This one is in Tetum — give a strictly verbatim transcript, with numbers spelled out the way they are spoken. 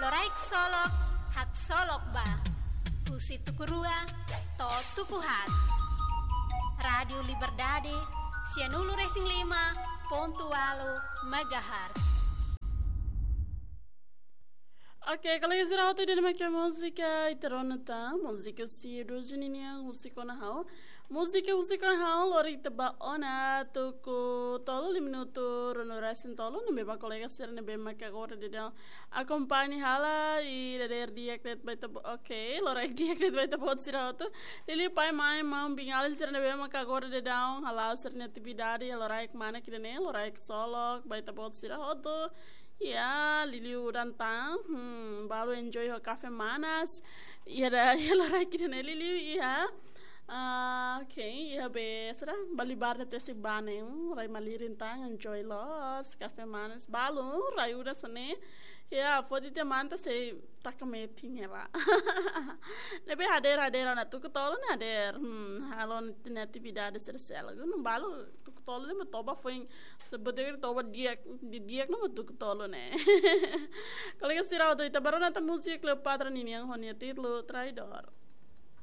Loraik Solok, haksolok ba. Husi tuku rua to'o tuku haat. Rádiu Liberdade, sianulu-resin-lima pontu ualu megahertz. Oke, kolega sira hotu, ida-ne'e mak múzika ita rona tan, múzika husi Edu Juninian, Husik Ona Ha'u. Múzika Husik Ona Ha'u, loraik ita ba ona tuku tolu, lima minutu ruanulu-resin-tolu, ne'ebé mak kolega sira ne'ebé mak agora daudaun akompaña hela, i dadeer di'ak de'it ba ita-boot, oke, loraik di'ak de'it ba ita-boot sira hotu. Liuliu pai, mãe, maun, biin-alin sira ne'ebé mak agora daudaun hala'o sira-nia atividade, loraik manas ida-ne'e, loraik solok ba ita-boot sira hotu. Ya, liuliu udan tan, hmm, balu enjoy ho kafé manas. Ya, ida, ya, loraik ida-ne'e liuliu, ya. Ah, oke, ya, be, sira, bali bar de tesi bane, hmm, rai malirin tan, enjoy loos, kafé manas, balu, rai udan hanesan ne'e. Ya, foti tiha manta sei taka metin hela. Ne'ebé hadeer, hadeer ona tuku tolu ne'e hadeer. Hmm, halo nia atividade sira seluk. Nu'udar balu tuku tolu ne'e mak toba foin. Se botei toba di'ak, di di'ak ne'e mak tuku tolu ne'e. Kolega sira hotu, ita bá rona tan múzika Cleopatra ninian ho nia títulu Traidór.